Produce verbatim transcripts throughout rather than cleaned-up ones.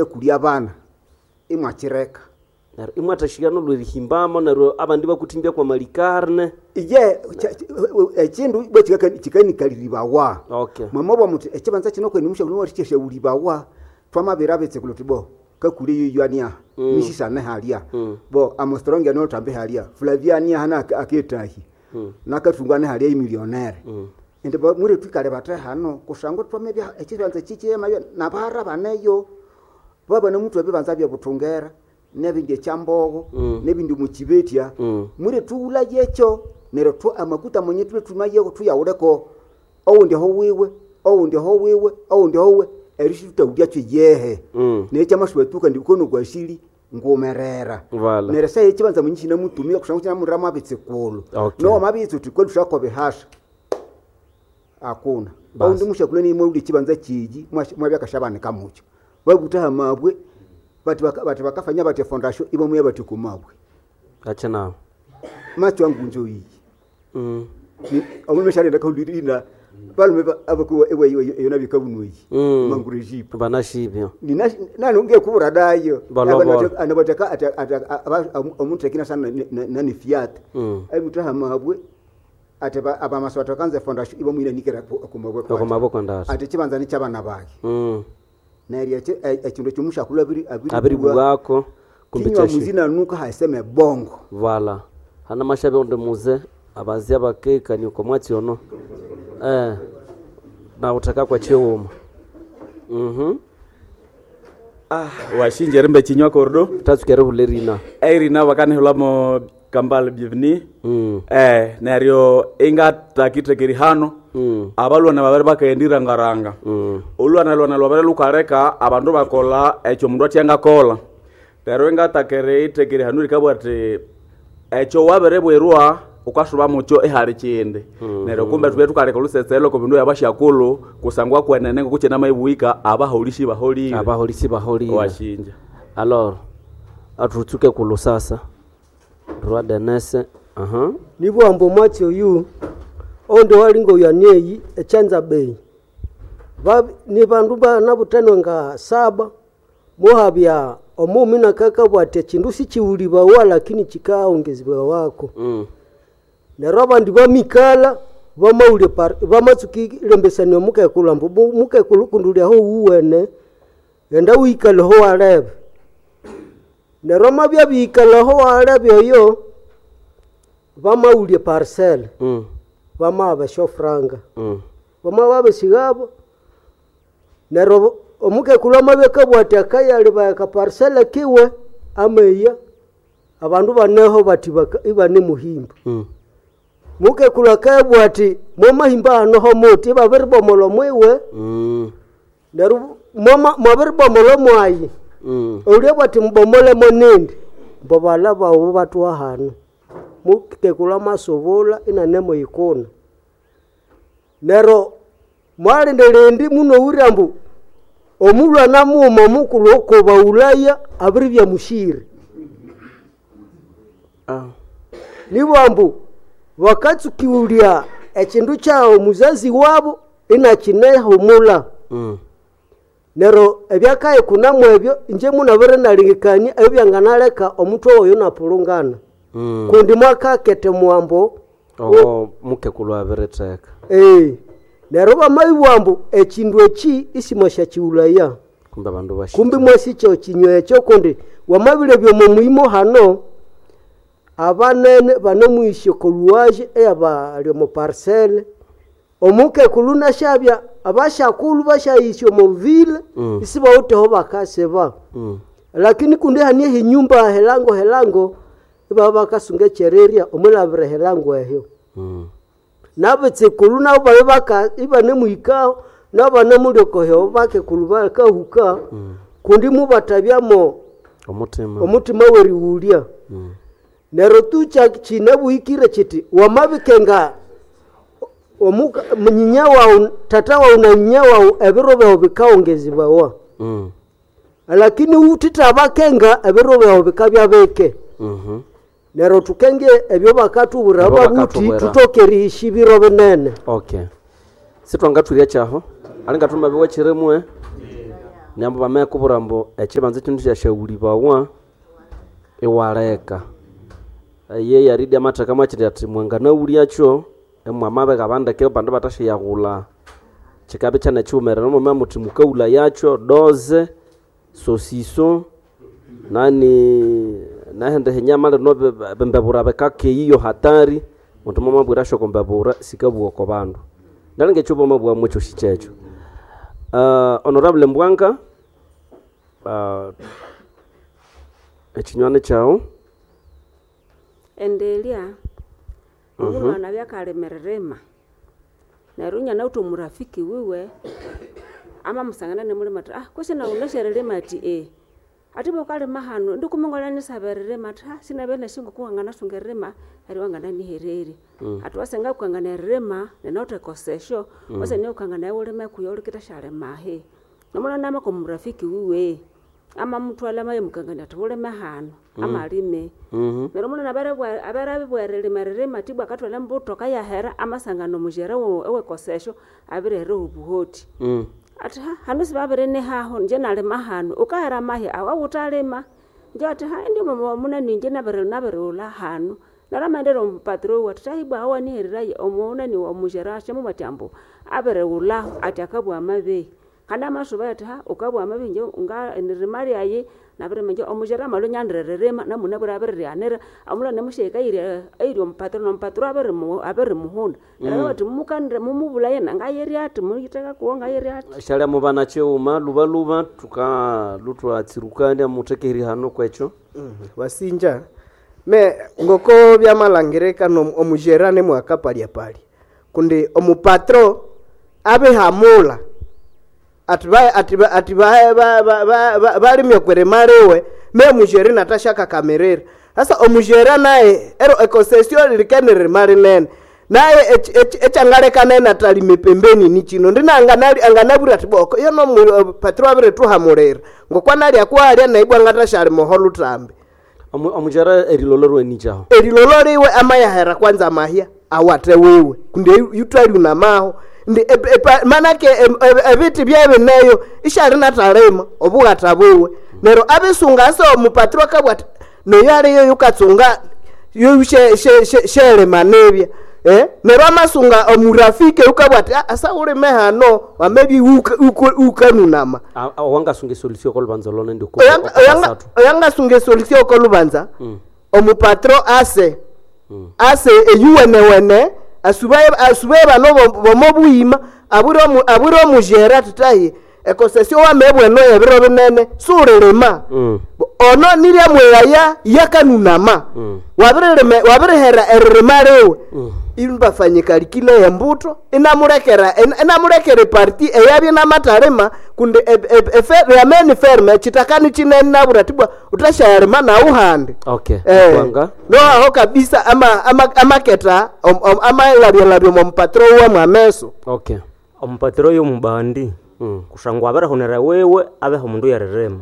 Kulya abana imwakireka. Neryo imwathashighana olwerihimbamo, neryo abandi bakuthimbya kwa malikarne. Iye ekindu bwe kikanikaliribawa. Okay. Mwamabwa muthi ekibanza kino kweni mushakulhu mwathikyasyawulibawa, twamabira bitsikulu thuthi bo kakule yoyo aniaha, Mm. misisane halya. Mm. Bo Armstrong anothambe halya, Flavia aniaha na aketahi. Mm. Nakathunga ane halya imillionaire. Mm. Indi bo mwire twikale bathe hano kusangwa twamabya ekibanza kikyema nabahara baneyo. Babana muthu ebibanza byebuthungera, nebindi ekyambogo, Mm. nebindi mukibetya. Mm. Mwire thughulayekyo neryo thu amakuta mwenye thulwe thumayeko thuyawuleko owundi aho wiwe, owundi aho wiwe, owundi aho wiwe, erishithutawulyakyo yehe. Mm. Neryo ekyamasuba ndi kono kwasili ngumerera. Vala. Neryo esaha ekibanza mwenye kinamutumia kusangwa kinamuriramu abitsikulhu. Okay. Nowamabitsa uthi kweli thusyakoba ehasha, akuna. Basi. Owundi musyakulhu niye mwawulya ekibanza kyegi mwabya akasyabanika mukyo. Babutha hamabwe bathi baka bathi bakafanya bathi efondasyo ibamuya bathi oku mabwe. Acha nawo. Macho ngunzo iyi. Mm. Omulhume syalenda kahulirina balume abakuwa eyo nabikabunweyi Mm. mangurejipo. Banashibyo. Nina nanu ngekubura dayo. Balobola. Anabataka omuntu akina sana nani fiat. Mm. Abutha hamabwe ati abamaso batakanza efondasyo ibamwina nikera kumabwe. Oko maboko ndasa. Ati kibanza nikyabana bake. Mm. Neryo ekindu ekyomushakulhu abiri Abiribwako kumbe kinywa kyashi. muzina nuka haseme bongo. Vala. Hana mashabe onde muze abazia bakekani uko mwatsi ono. Eh. Na utaka kwa chiwuma. Mhm. Ah, washinje rimbe chinywa kordo. Tatsukere hulerina. Eirina bakanihulamo Kambale bienvenue. Mm. Eh, neryo ingatakithekeri hano. Mm. Abalwana babiri bakayendirangaranga. Mm. Olwana lwana lwabere lukaleka abandu bakola ekyo omundu atyangakola. Neryo ingatakere ithekeri hano rikabugha ati ekyo wabirebwerwa ukasuba mukyo ihali kindi. Mm. Neryo kumbe thubye thukaleka olusetselo oko bindu byabasyakulhu kusangwa kwenene ngoku kinamayibughika abaholisi baholire. Abaholisi baholire. Washinja. Alors, athutsuke kulusasa. Roi Denese. Aha. Nibwamba omwatsi oyu oundi walinga oyu anieyi echanza bei ni bandu banabuthanwa nga saba muhabya omumi nakakabugha ati ekindu sikiwulibawa lakini kikaongezebawa Mm. neryo abandi bamikalha bamawulya bamatsuka erilembesania omukekulhu ambu mukekulhu kundi uli aho wuwene ghenda wikalhe aho walebe. Neryo amabya abiyikalha aho walebe oyo bamawulya eparcel Mm. bamahaba esyofuranga. Mm. Bamabya babisighabo neryo omukekulhu amabya akabugha ati akayalibaya akaparcel kiwe ameya abandu baneho bathi ibanemuhimba. Mm. Mukekulhu akayabugha ati mwamahimba hano homuthi ibabiribomolha omwiwe Mm. neryo mwabiribomolha omwayi. Mm. Olyabugha ati mubomolemo nindi mbo baghalha baghu bathuha hano. Mukekulhu amasubulha inanemuyikuna. Neryo mwalinda indi munowire ambu omulhwana mughuma omukulhu okobawulaya abiribya mushiri. Ah. Nibugha ambu bakatsukiwulya ekindu kyaghu muzazi wabu inakinehumulha. Mm. Neryo ebyakayikuna mwebyo inje munabwire inalengekania ebyanganaleka omuthwe oyo inapulungana. Mm. Kundi mwakaketha omuwambo Ogo mukekulhu abiritheka. ee neryo bamabibugha ambu ekindu eki isimwasyakighulaya. Kumbe abandu bashi. Kumbi mwasikya ekinywa ekyo kundi wamabilebya omo muyimo hano abanene banemuhisya oko luwaje eyabali omo parcel. Omukekulhu nasyabya abasyakulhu basyahisya omo ville Mm. isibawitheho bakasiba. Mm. Lakini kundi hane ehinyumba helango helango ibabya bakasunga ekyererya omwilhabira ehilango ehyo. Mm. Nabitsikulhu nabo babya baka ibanemuhikaho nabo banemulya okohyo bakekulhu bakahuka Mm. kundi mubathabyamo Omutima. omutima werighulya. Mm. Neryo tu kyinabuhikire kyithi wamabikenga omuka nyinya waghu tata waghu na nyinya waghu ebiro byaghu bikawongezebawa. Mm. Lakini wuthithabakenga ebiro byaghu bikabya bike. Mhm. Neryo thukenge ebyo bakathubwira Ebyo ababuthi bakatubwira. thuthoke erihisya ebiro binene. Okay. Sitwangathwirya kyaho alinga thumabiwa kirimwe. Nyambo bamekubwira ambu ekibanza kino kyasyaghulhibawa iwaleka. Eye yaridi amatheka mwakindi athi mwanganaghulhyakyo imwamabika bandeke abandu bathasyayaghulha kikabya ikyane kighumerere mwamabya muthi mukaghulhayakyo doze, sosiso nani nehindi hinyama lino bimbebura bikakeya iyo hatari muthi mwamabwirasyo oko mbebura sikabugha oko bandu. Nalinga ekyo bamabugha mwekyosi kyekyo. Uh, Honorable Mbwanga, uh, ekinywani kyawu. Endelya omulwana byakalimirima neryo inyanawithe omurafiki wiwe amamusangana inimulima athi ah kwesi nawu wunasi erilima athi ee athi ibwa wukalima hanu indi kumi ngwalyanisaba eririma athi ha sinabya nasi ngoku wanganasunga eririma neryo wangananihererya athi wasenga wukangana eririma ninawithe ekosesyo wasenga wukangana wulime kuyo wulikithasya ahi nomulwana amaka omurafiki wiwe amamuthwalha amayamukangania athi wulime hanu amalime neryo omulwana abere abiribwa erilima eririma athi ibwa akathwalha embuto akayahera amasangana omujere owekosesyo abirihera obuhoti Mm. athi ha hanu sibabirinihaho inje nalima hanu wukahera amahi awu awuthalima inje athi ha indi munani inje nabiri nabirighulha hanu neryo amaghendera omupatiro wiwe athi thahi ibwa aho wanihereraye omunani omujere asyamubwira athi ambu abirighulhaho athi akabugha amabehi kandi amasubayo athi ha wukabugha amabehi inje nga eririma lyayi nabirima inje omujere amalhwa inyanzire eririma namunabwire abiririghanira omulhwana musyahika eyiri eyiri omupatiro nomupatiro abirimu abirimuhunda neryo bathi mumukanire mumubulhaye nangayirya athi muyitheka kuwo ngayirya athi Syalya mubana kighuma lubaluba thuka lhuthwatsirukania muthekeri hano kwekyo. Wasinja me ngoko byamalangirika no omujera nemwakapalyapalya kundi omupatro abihamula ati ba- ati ba- ati ba- ba- ba- ba- ba- balimye kwerema liwe me mujeri natashakakamirira sasa omujera naye ero ekosesio lilikenirima linene naye echangaleka naye natalime pembeni ni chino ndina anganali anganabwira ati boko iyo no patro abirituhamulira ngokwanalya kwalya naibwa ngatashalima holutambi Omu- Omujera erilolo rwenikyaho. erilolo liwe amayahera kwanza mahya awate wiwe kundi yutwaliunamaho ndi ep- epa- manake em- em- ebiti byebineyo ishali natalima obughata bwiwe neryo abisunga ase omupatiro akabwa ati noyo aliyo yukatsunga yoyu shelima nibya eh? neryo amasunga omurafiki yukabwa ati "Ah, asa ulime hano wamebi ukanunama A- a- Wangasunga esolution kolubanza lona ndi Oyanga- oyanga- oyangasunga esolution kolubanza omupatro ase ase eyuwenewene asubaye asubaye bano bo- bomobuyima abwire omu- abwire omujera titahi ekosesio wamebweno ebiro binene suulirima Mm. Bo- ono niryamweyaya yakanunama Mm. wabiririme wabirihera eririma liwe imbafanyikalikile embuto inamulekera in- inamulekera eparti eyabye namatalima kundi yameni ferme chitakani chinene nabura tibwa utashayalima nawu handi Okay. Eh, Mbwanga. noaho kabisa ama ama amaketa om- om- amalabyalabya omupatro uwe mwameso Okay. omupatiro oyo mubandi Mm. kusangwa abirihunira wiwe abeho omundu yeririma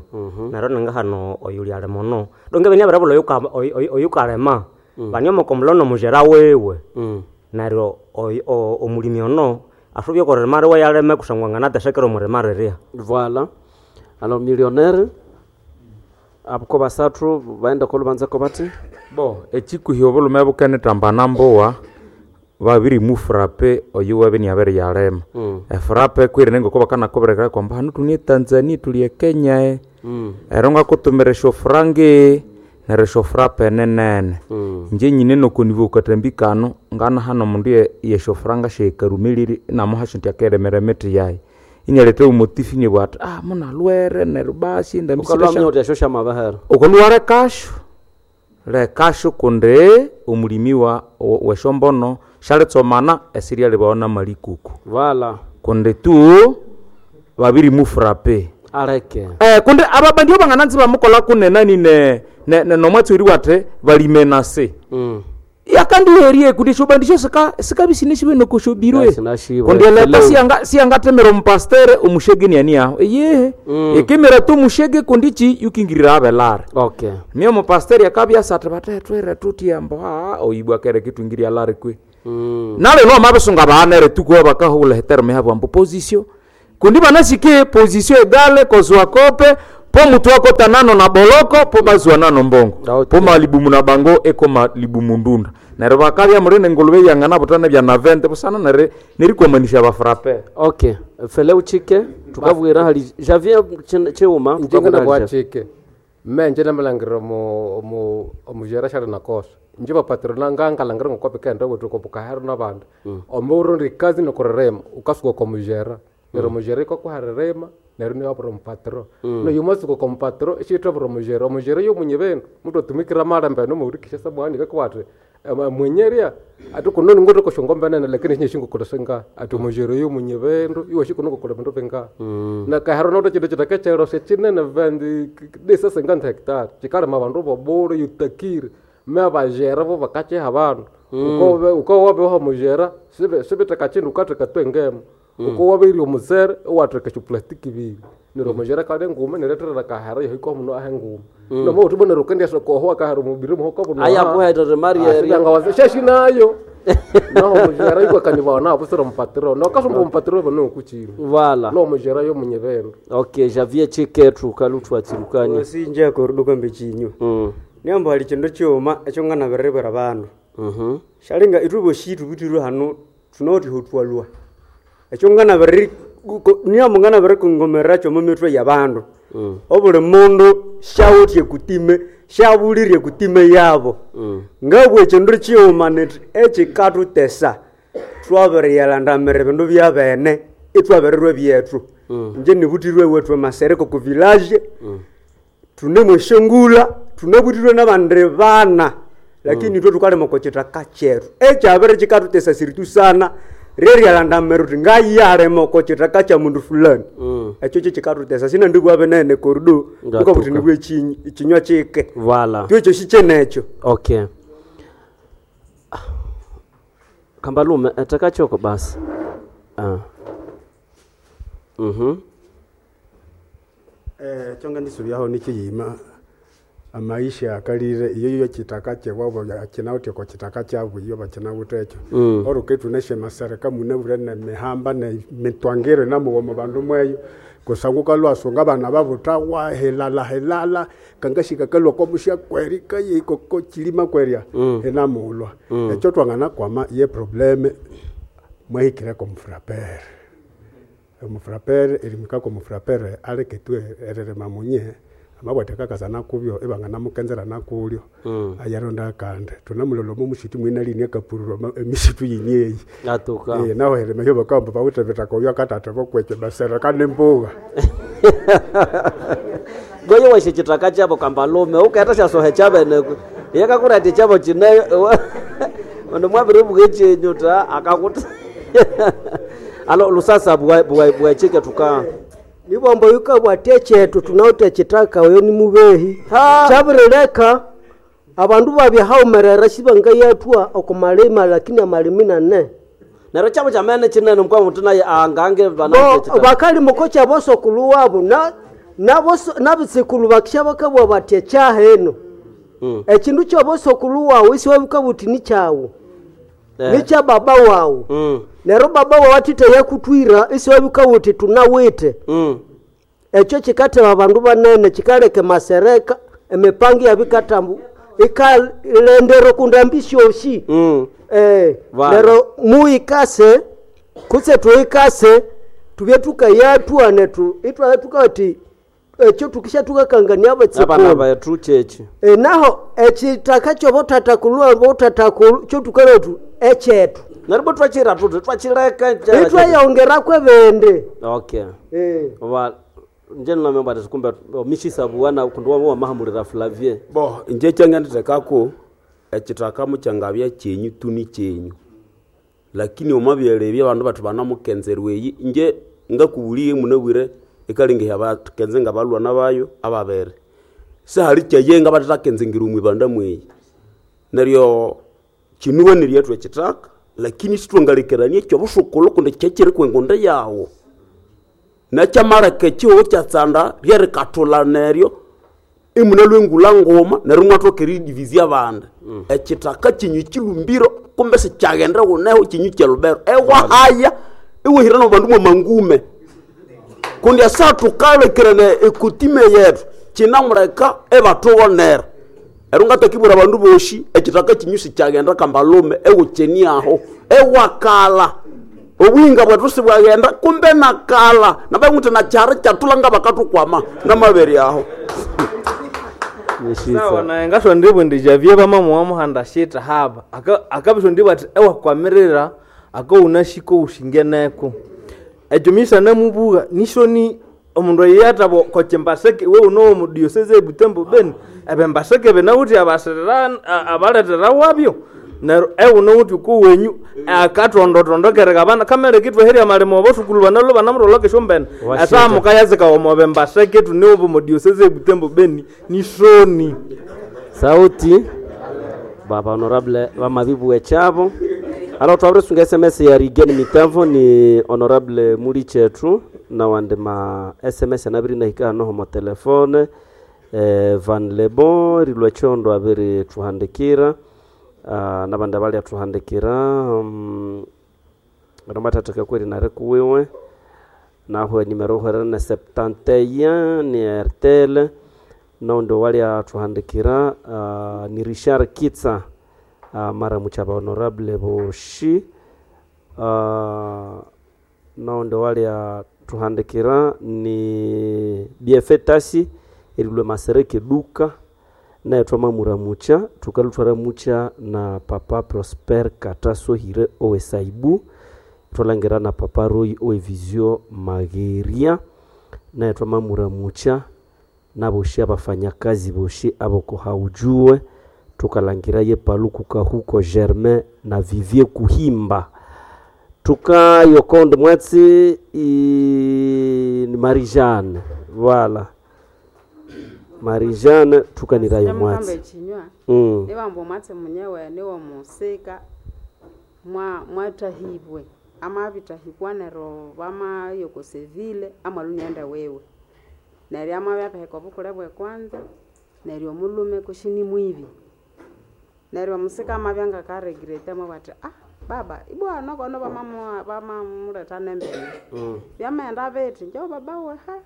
neryo ninga hano oyu lyalima ono donge bini abiribulha oyuka- oyu- oyu- oyukalima baniomoko mulono omujera wiwe Mm. neryo oyu- o- omulimi ono asubye okoririma riwe yalime kusangwa anganatesekera omurima rirya Voilà. Alors millionnaire abuko basathu baenda kolubanza ko bati bo ekikuhi obulume bukenithambana mbuwa babirimufrape oyu wabini abiriyalima Mm. efrape kwirine ngoko bakanakubirekera kwamba hanu tuli etanzania tuli ekenya e Mm. ero ngakutumira esyofrange neryo esyofrape ninene Mm. inje nyine nokonivo katambi kano ngana hano omundu ye- yesyofranga syekarumelire inamuhasyo nti akeremera emiti yayi inyaletha omotifu inibwa ati ah munalwere neryo basi Ukalwa ndamisire mnyoti asho shamabahera. ukaluwa lekasho lekasho kundi omulimi wa wesombono syalitsomana esiryalibawo namalikuku Voilà. kundi tu babirimufrape Aleke. eh, kundi ababandi bangananzi bamukola kunenani ne, ne, ne nomwatsi wate balimenase Mm. yakandiherie kundi esyobandi sika sikabisine sibe nokosyobirwe Sinashibwe. kundi eleta Hello. siyanga siyangatemera omupastere omushege niani aho eyehe Mm. ikimira tu mushege kundi ki yukingirira abelare Okay. mio mupasteri akabya ati batetwire tutyambo haa oibwa kere kitwingiria lari kwe Mm. nalino mabisunga baanere tukuwa bakahula heterome yabo ambu position Kundi banasike position egale kozwa kope po mutu akota nano na boloko po bazwa nano mbongo. Okay. Po malibumu na bango eko malibumu ndunda. Neryo bakabya murine ngulube yangana butana bya na vente busana nere nerikwamanisha bafrape. Okay, fele uchike tukabwira hali Javier Ch- Chiuma njengena tukabwira hali Javier. bwachike menje namalangiro mu mu omujera shali nakosa nje bapatrona ngangalangiro ngokope kenda wetu kopukahero nabandu omurundi kazi nokurerema ukasuka komujera nero mujera ikokuharerema nero niwabura omupatro noyumasuka komupatro ishitwabura omujera omujera yomunye bendu mutu atumikira malembe nomuurikisha samuhani kakwati mwenyeria ati kunoni ngotokoshongombenene lakini shinye shingukolesenga ati omujera yomunye bendu iwe shikunokokola bindu binga na kahero noto chindu chitakechero sechinene vendi disasenga hectare chikalima abandu bobule yutakire me abajera bo bakacheha abandu ukobe ukowabeho mujera sibe sibiteka chindu ukatheka twengemo ukowabeire omusere iwatheka esyoplastiki ibiri neryo omujera kale nguma niretherera kahera yahika omuno ahe nguma nomo uthi bonero ukendyasa koho akahera omubiri muhoko buno Aya kuherere Maria sheshi nayo naho omujera ikwakanibawa nabo sira omupatiro nokasumba omupatiro bano kuchini Vala. no omujera yomunye bendu Okay, Javier Chike tukalutu atsirukani. sinje koruduka mbechinyu Mm. niamba hali chindu chiuma ekyo nganabiriribwira bandu Mhm. shalinga itwe bosi tubutirwe hano tunoti hutwalwa ekyo nganabiriri niamba nganabirikongomerera kyomo mitwe ya bandu Mm. obuli mundu shawutye kutime shabulirye kutime yabo Mm. ngabwa ekindu kighuma niti ekikatutesa twabiriyalandamira ebindu byabene itwabirirwa byethu nje nibutirwe wethu emasereko ku village tunemweshengula tunebutirwe nabandi bana lakini itwe tukalima oko kitaka kyethu ekyabiri kikatutesa siritu sana ryeryalandamira uthi ngayalima oko kitaka kya mundu fulani Mm. ekyo kyekikatutesa sinandibwa binene korudo Ngatuka. nikobuthi nibwa ekinywa kike Vala. twekyo sikyenekyo Okay. Kambalume etakachoko basi. Ah. Mhm. Eh, kyonga ndisubyaho nikiyima amaisha akalire iyo yo kitaka kyewabo kinawuthe ko kitaka kyabu iyo bakinawuthe ekyo Mm. oruke tuneshe masereka munabure ne mihamba ne mitwangiro namuwoma bandu mweyo kusangu kalwasunga abana babutawa helala helala kangashika kalwa komusha kweri kaye koko chilima kwerya Mm. enamulwa Mm. ekyo twangana kwama ye probleme mwahikireko mufrapere omufrapere erimikako omufrapere aleke tu ererema munye amabwate kakasana kubyo ibanganamukenzera nakulyo Mm. ayaronda akandi tunamulola omo mushitu mwina lini akapurura emisitu yini eyi Atuka. Eh, naho herema hyo bakamba bawuthe bitaka oyo akatate bokwekyo basereka nembuga Goyo washe chitaka chabo kambalume ukaeta syasohe chabene yakakurati chabo chine ono mwabiribuka chenyu ta akakuta alo lusasa bwa bwa bwa chike tuka nibombo yukabwatya ekyetu tunawuthe ekitaka oyo ni mubehi kyabirileka abandu babyahaumerera sibangayathwa okumalima lakini amalimi nane neryo chabo chamene chinene mukwa mutu naye angange bana Bo- bakalima oko kyabosokulu wabo na- naboso- nabitsikulu bakisha bakabwa bati ekyaheno Mm. ekindu kyobosokulu wawu isiwabikabwa uthi nikyawu Eh. nikya baba wawu Mm. neryo baba wawu athithe yakutwira isiwabikabwa uthi tunawithe Mm. ekyo kikatheba abandu banene kikaleka emasereka emipango yabikatambu ikalendera okundambi syosi Mm. eh, Vale. neryo muyikase kutse tuyikase tubye tukayathwa nethu itwabya tukati ekyo tukisha tukakangania Abana abatsikulu bethu chechi e, naho ekitaka kyobothatakulu bothatakulu kyotukaletu ekyetu neryo bo twachira tuti twachileka cha- itwayongeraku ebindi okay Eh. va nje nlamemba ati kumbe mishisa buwana kundi wama wamahamulira Flavie bo inje kyangandithekako ekithaka mukyangabya kyenyu tu ni kyenyu lakini omwabyalebya abandu bathi banamukenzerwa eyi inje ngakubuliye munabwire ikalingiha bakenze nga balwana bayo ababere sihali kyaye nga bathathakenzengira omwibanda mweyi neryo kinuwanirye ethu ekithaka lakini sithwangalekerania ekyobusukulhu kundi kyekyiri kwengunda yawu nekyamaleka ekihugho kyatsanda ryerikathulha neryo imunalwa engula nguma neryo imwathoka eridivizya abandi ekithaka kinyu kilumbiro kumbe sikyaghenda wuneho kinyu kyalubero ewahaya iwahira nabandu mwamangume Kundi asa tukalekirene ekutime yetu kinamuleka ebatubonera. Ero ngatakibwira abandu boshi ekitaka kinyusi kyagenda kambalume ewukyeni aho ewakala. Obuyinga bwetu sibwagenda kumbe nakala nabanguti nakyari kyatulanga bakatukwama namabere aho. Sawa naye ngasondibwe ndi Javier bamamuwa muhanda shita haba akabisondibwa ati ewakwamirira akaunashika ushingeneko ekyo misa namubuga nishoni omundu eyatabo kochimbaseke we uno mu diocese ebutembo beni ebembaseke benawuthi abasirira abaletera wabyo neryo ewuno wuthi kuwenyu akatondotondokeraga abana kamere kitweherya malimo obosukulu banalo banamutholokesha esyombene esamuka yazika omobembaseke tuniubu mu diocese ebutembo beni nishoni Sauti baba honorable bamabibu echabo. Alors twabirisunga S M S ya Rigen Mitavo ni honorable muli chetu na wande ma S M S anabiri nahika noho mo telefone eh, Van Lebon rilwe chondo abiri tuhandikira uh, nabandi abali atuhandikira um, romatataka kweri nare kuwiwe naho nimero hwerene na septante un ni Airtel nondo wali atuhandikira uh, ni Richard Kitsa uh, mara muchaba honorable boshi uh, nondo wali atuhandikira ni B F Tasi erilwe masereke duka naye twamamuramucha tukalutwaramucha na papa Prosper Katasohire owesaibu twalangira na papa Roy owe Mageria naye twamamuramucha naboshi abafanyakazi boshi aboko haujue tukalangira ye paluku kahuko Germain na Vivier Kuhimba tukayokonde mwatsi i... ni Marie-Jeanne voilà Marie-Jeanne tukanirayo mwatsi chinywa mm. niwamba mwatsi munyewe niwo musika mwa mwatahibwe amabitahibwa nero bamayokosevile amalunyenda wewe neryo amabya obukule bwe kwanza neryo omulume kushini mwibi neryo omusika amabya ngakaregrete amabwati ah baba ibwana kono bamamuleta nembene mm. byamaghenda bithi njo baba weha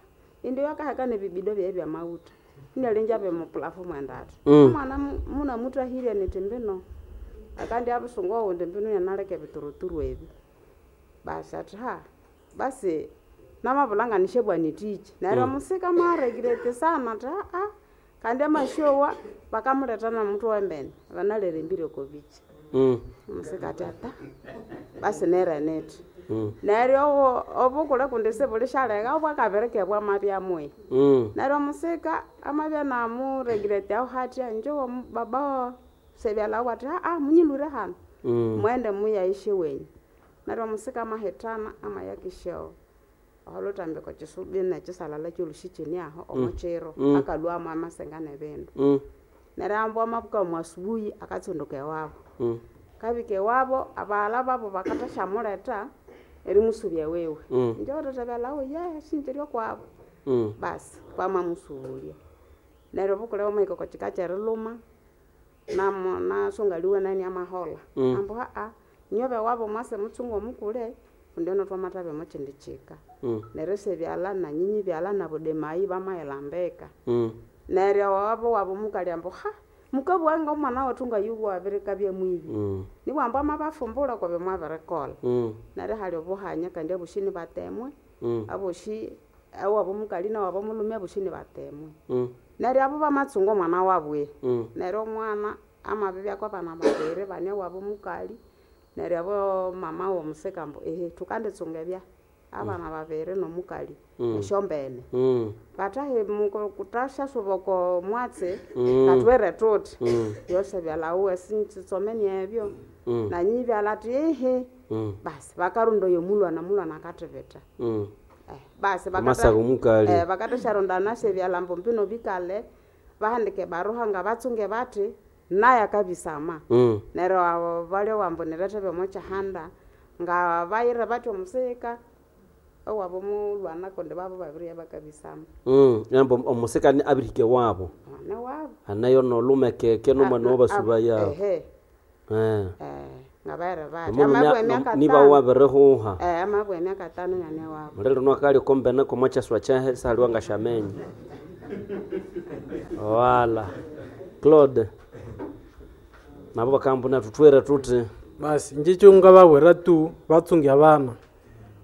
indi yakaheka nebibido byaye byamawutha inalinja bemupulafomu endata Mm. omwana munamutahirye niti mbino akandi abusungu owundi mbino yanaleka ebituruturu ebi basi ati ha basi namabulanga nitichi neryo Mm. omusika mwaregirete sana ati aa kandi amasyowa bakamuleta nomuthu wembene banalere kobichi Mm. omusika ati ata basi nereneti Mm. neryo obo- obukule kundi sibulishaleka obwakabirike bwamabyamwe Mm. neryo omusika amabya namuregirete aho hatya njo baba sebyalawo ati aa munyilure hano Mm. mwende muyaishe wenyu neryo omusika amahithana amayakisha oholutambiko kisubi nekisalala kyolushikini aho omukyiro Mm. akalwamu amasenga nebindu Mm. neryo ambu amabuka mu asubuhi akatsunduka ewabo Mm. kabika ewabo abaghala babo bakathashamuleta erimusubya wewe Mm. njo ye shinjiryo kwabo Mm. basi bamamusubulya neryo obukule bwamahika oko kika kyeriluma namo nasungaliwe nani amahola Mm. ambu aa nyobe wabo mwase mutsungu omukule kundi ono twamathabe mukindi kika Mm. neryo sebyala nanyinyi byala nabudemayi bamayilambika Mm. neryo wabo wabo mukali ambu ha mukabwanga omwana wethu ngayuwa abirikabya mwibi Mm. niwambu amabafumbula kwabyo mwabirikola Mm. neryo hali obuhanya kandi aboshi nibatemwe Mm. aboshi ewabo mukali newabo mulume aboshi nibatemwe Mm. neryo abo bamatsunga omwana wabwe Mm. neryo omwana amabibyako abana babiri bane wabo mukali neryo abo mama womusika ambu ehe thukanditsunga ebya abana babiri nomukali Mm. esyombene Mm. batahe kuthasasuba oko mwatsi Mm. katwere thuthi Mm. yose byalawuwe sintsitsomeni ebyo Mm. nanyi byala athi ehe Mm. basi bakarunda oyo mulwana mulwana akathibitha Mm. basi Amasaga omukali. eh, bakathasharondana sebyala mbu mbino bikale bahandike baruha nga batsunge bathi naye akabisama Mm. neryo abo balya wambu nirethe byomukyihanda nga bayire bathi omusika owabo mulwana kundi babo babirya bakabisama Mm. Yambo omusika ni abirike wabo mwana wabo anayo nolumekeke nomwana wabasuba yabo ehe eh. eh. Ngabahere bati Omulhume amabwa emyaka niba tano wabirihuha eh amabwa emyaka tano nyane wabo muliro nwakali okombene komo kyaswa kyehe saliwa ngashamenye wala Claude nabo bakambuna tutwere tuti basi nje ngabawira tu batsunge abana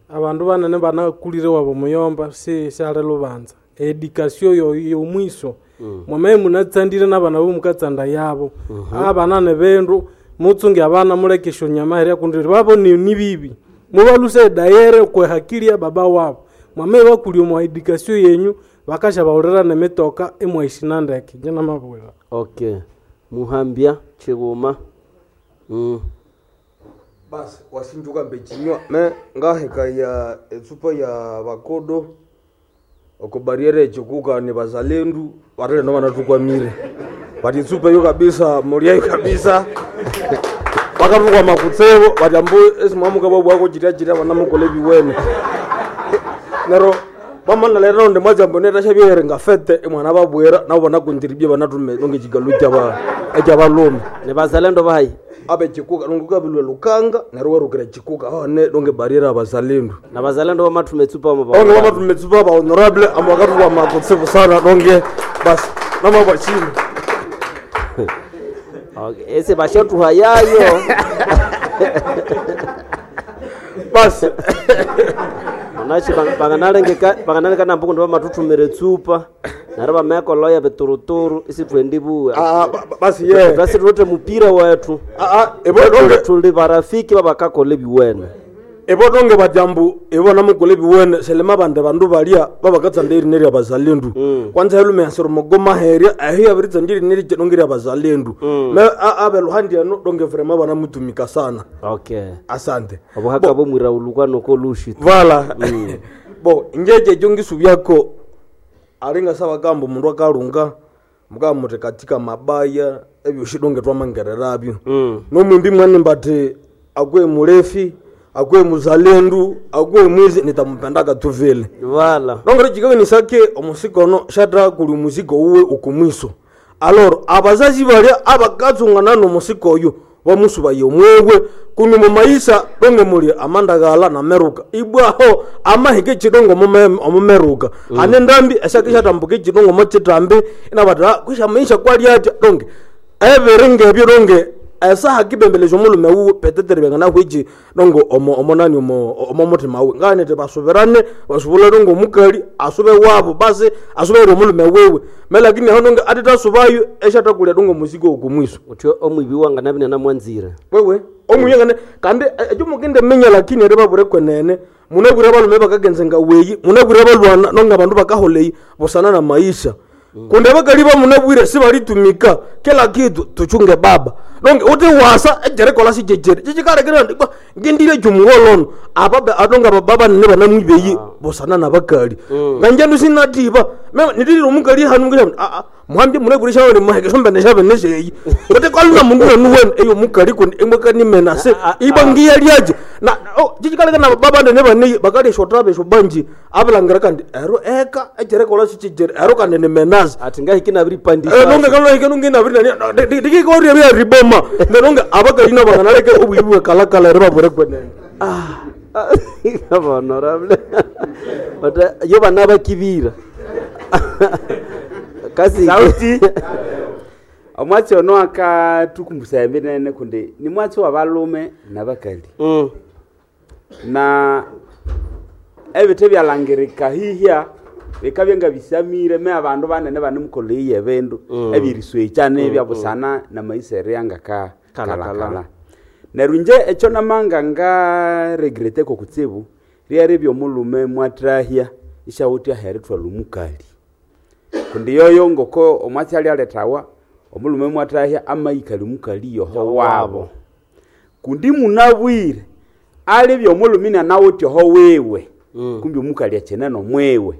abandu banene banakulire wabo muyomba si syali lubanza edikasio yo yomwiso Mm. mwamaye munatsandire n'abana bo mukatsanda yabo Mhm. abana ne bindu mutsunge abana muleke esyonyama herya kundi babo ni ni bibi mubaluse dayere kwe hakili ya baba wabo mwamaye bakulya omwa edikasio yenyu bakashabawulira nemitoka imwaishina ndeke nje namabwira okay muhambya chiguma mm. basi wasinjuka mbechinywa me ngaheka ya etsupa ya bakodo oko bariere echikuka ni bazalendu batele no banatukwamire bati etsupa yo kabisa mulyayo kabisa bakatukwama kutsebo bati ambu esimwamuka babwako chitya chitya banamukola ebiwene nero bamana lero ndi mwajambo netasha nga fete imwana babwera nabo banakundiribye banatume nonge chigalu chaba echabalume ni bazalendo bayi abe chikuka nonge kabilwe lukanga nero werukira chikuka one nonge bariera abazalendu na bazalendo bamatume etsupa onge bamatume tsupa ba honorable ambo bakatukwama kutsibu sana nonge basi namabachini okay. ese bashatuha yayo basi onachi banganalengeka banganalengeka mbuku ndi bamatuthumira etsupa neryo bamekoloya bituruturu isithwendibuwe Ah, ba- ba- basi ye. twasi tuwithe mupira wethu ebo donge- tuli barafiki babakakola ebiwene ibo donge batyambu ibo namukola ebiwene selema bande bandu balya babakatsanda erina erya bazalendu kwanza helume yasira omugoma herya eho yabiritsanda erina eri- donge erya bazalendu me a- abeluhandi eno donge vrema banamutumika sana okay asante obuhaka bomwira ulukwa nokolushi vala bo njeje ekyo ngisubyako alinga sabagamba omundu akalunga mukaba muti katika mabaya ebyosi donge twamangererabyo nomwimbi mwanimba ati akuwe mulefi akuwe muzalendu akuwe mwizi nitamupendaka tu vile vala nongere chikawenisake omusikono shata kuli omusiko uwe ukumwiso aloro abazazi balya abakatsungana nomusiko oyo bamusubaye omwewe kundi mumaisa donge muli amandagala nameruka ibwaho amahike chidongo omume- omumeruka mm. ane ndambi esake shatambuka echidongo mochitambi inabata kwisha maisha kwali atya donge ebiri ngebyo donge esaha kibembelesha omulume wuwe petetere byanganahwichi dongo omo omonani omo omo mutima wuwe nganete basubirane basubule dongo omukali asube wabo basi asubere omulume wiwe me lakini aho donge atitasubayo eshatakulya dongo omusiko okumwiso utyo omwibi wanganabine namwanzire wewe omuyengane kandi ekyo mukende minya lakini eri babure kwenene munabwire abalume bakagenzenga weyi munabwire abalwana nonga abandu bakaholeyi busana na maisha kundi abakali bamunabwire sibalitumika kila kitu tuchunge baba nonge uti wasa ejerikola sijejere chichikalekera ndikwa ngindile chumuwolono apa atonga bababa nene banamwibeyi busana nabakali nganjandu sinatiba mema nitilile omukali hanu ngisha a a muhambi munabwire shawene muhekesho mbene shabene sheyi uti kwaluna mundu wenu wenu eyo mukali kundi imwekani se iba ngiyalyaje na oh, chichikaleka na baba nene baneyi bakali shotabe shobanji abilangira kandi ero eka ejerikola sichijere ero kandi ni menazi ati ngahiki nabiripandisha nonge kalolahike nonge nabiri ndikikoria bya riboma nonge abakalina banganaleke obwibi bwekalakala eri babure kwenene honorable but yo bana bakibira kasi sauti omwatsi ono akatukumbusa embinene kundi ni mwatsi wa balume nabakali mm. na ebithe byalangirika hihya bikabya nga bisamire me abandu banene banemukoleiye ebindu Mm. ebiriswekyana Mm, ebyabusana namaisa eria ngaka Kala, kala. kalakala neryo inje ekyo namanga ngaregreteko kutsibu ryari byomulume mwathahya isyawuthi aherithwalha omukali kundi yoyo ngoko omwatsi alyalethawa omulume mwathahya amayikali omukali yoho wabo kundi munabwire alibya omulume inanawuthi oho wiwe kumbi omukali akyine nomwiwe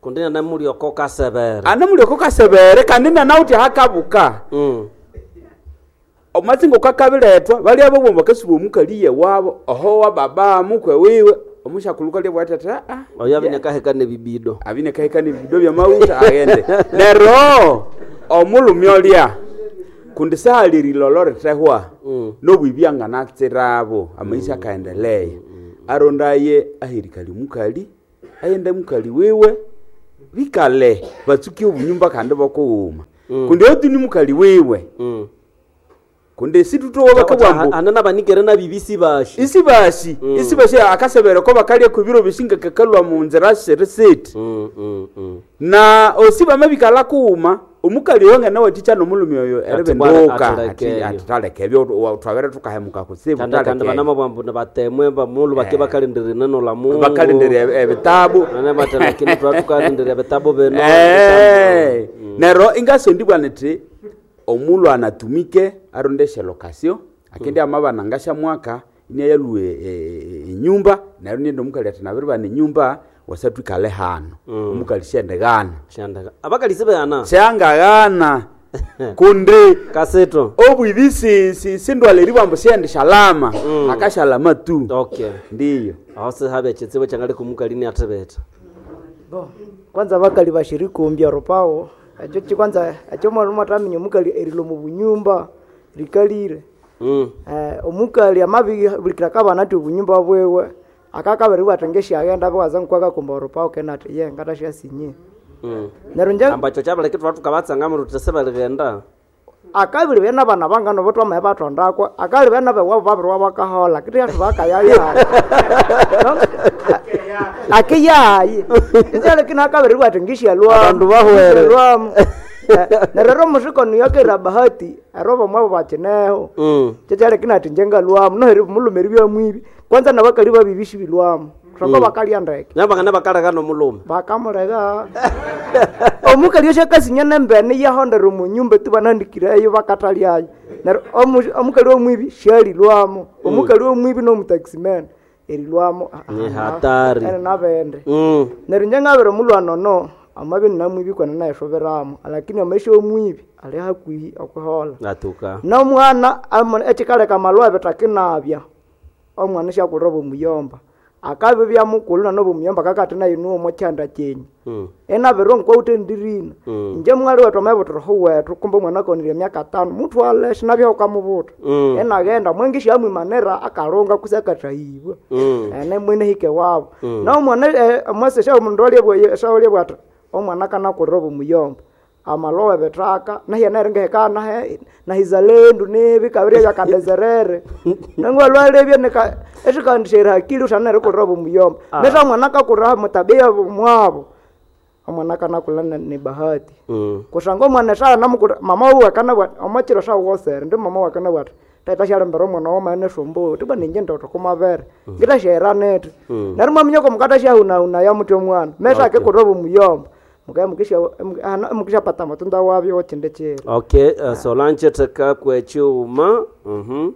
kundi nanamulyoko kasebere anamulyoko kasebere kandi nanawuthi ahakabuka mm. omwatsi ngokakabirethwa balya babwo bakasuba omukali yewabo oho wa baba mukwe wiwe omushakuluka lyabwati ati aa oyo abinekaheka nebibido abinekaheka nebibido byamawutha aghende neryo omulume olya Kundi sahali rilolo rithehwa nobwibi anganatsirabo amaisha akaendelea arondaye ahirikali mukali ayende mukali wiwe bikale batsuke obunyumba kandi bokughuma kundi otu ni mukali wiwe kundi situtowa bakabwambu anana banikere nabibisi bashi isi bashi isi bashi akasebere ko bakalya kubiro bisinga kakalwa mu nzira siri na osi bamabikala kuuma omukali oyo ngana wathikya nomulumi oyo eribenduka atithalekebyo twabere tukahemuka kutsibu kandi kandi banamabwambu nibatemwe bamulu bake bakalindira ineno la Mungu Bakalindira ebitabu nane bati lakini twa tukalindira ebitabu bino Eh, nero ingasondibwa niti omulhu anatumike arondeshe lokasio akindi amabana ngashamwaka inayalue enyumba neryo nindi omukali ati nabiribana enyumba wasatwikale hano omukali shendighana shendega abakali sibeghana syangaghana kundi kasito obwibi si- si- sindwala eribwambu shendishalama akashalama tu okay ndiyo aho sihabe ekitsibu kyangali kumukali niathibitha Bo, kwanza bakali bashirikumbya rupawo ekyo ki kwanza ekyo mwana mwataminya omukali erilo mu bunyumba rikalire Mm. eh, omukali amabibulikira kabana ati obunyumba bwewe akakabiri bwati ngesyaghenda bwaza nkwakakumba orupawo kena ati ye ngatasyasinye Mm. neryo nje ambacho kyabaleke thwa tukabatsanga ruthi sibaligenda akabiri bene bana bangano botwamaye batondakwa akali bene bewabo babiriwa bakahola kiti bakayaya akiyayi ikyalekina akabiri bwati ngishyalwamu Abandu bahwere. ngishyalwamu. Eh, neryo ero musikono yakera bahati ero bamwabo bakineho Mm. kyekyalekina ati njengalwamu noheri mulume eribyamwibi kwanza nabakali babibi sibilwamu kusangwa Mm. bakalya ndeke nabangana bakaleka nomulume bakamuleka omukali osyo akasinya nembene yahondera omunyumba tu banandikireyo bakatalyayo neryo omu- omukali omwibi syalilwamo omukali omwibi nomutaximan erilwamo ah, ah, Ni hatari. ene nabende Mm. neryo inje ngabere omulwana ono amabi ninamwibi kwana nayishoberamo lakini amaisha omwibi ali hakuhi okuhola atuka nomwana amu- ekikaleka amalwa bitakinabya omwana syakulira obumuyomba akabibya mukulu nanobumuyomba kakati nayo niwo omokyanda kyenyu Mm. enabirwa nkwawuthe ndirina Mm. inje mwali wethu amayibuthira wethu kumbe omwana akonire emyaka tano muthwale sinabyaho ukamubuta Mm. enaghenda mwengi syamwimanira akalunga kusi akathahibwa Mm. ene mwene hike wabo Mm. nomwana omwasi syamundu alyebwa bwati omwana akanakulira obumuyomba amalowe bithaka nahyana ringeheka nahizalendu nibi kabiri byakadezerere nangwalwalebye nika esikandishaira hakili usana erikulira obumuyomba Ah. neta omwana akakulira mutabia mwabo omwana akanakula ne- ni bahati Mm. kusanga omwana esala namukura mama uwe akanabwa omwakiro sawosere ndi mama wakanabwa ati tata syalembera omwana wamaene sombo tiba ninje ndoto kumabere ngitasyaira neti Mm. neryo mwaminya komukata syahunahuna yamuthi omwana mesa Okay. akikurira obumuyomba mukaya mukisya- muki- hana- mukishapata amatunda wabyo okindi kiro okay uh, solange theka kwekyuma mhm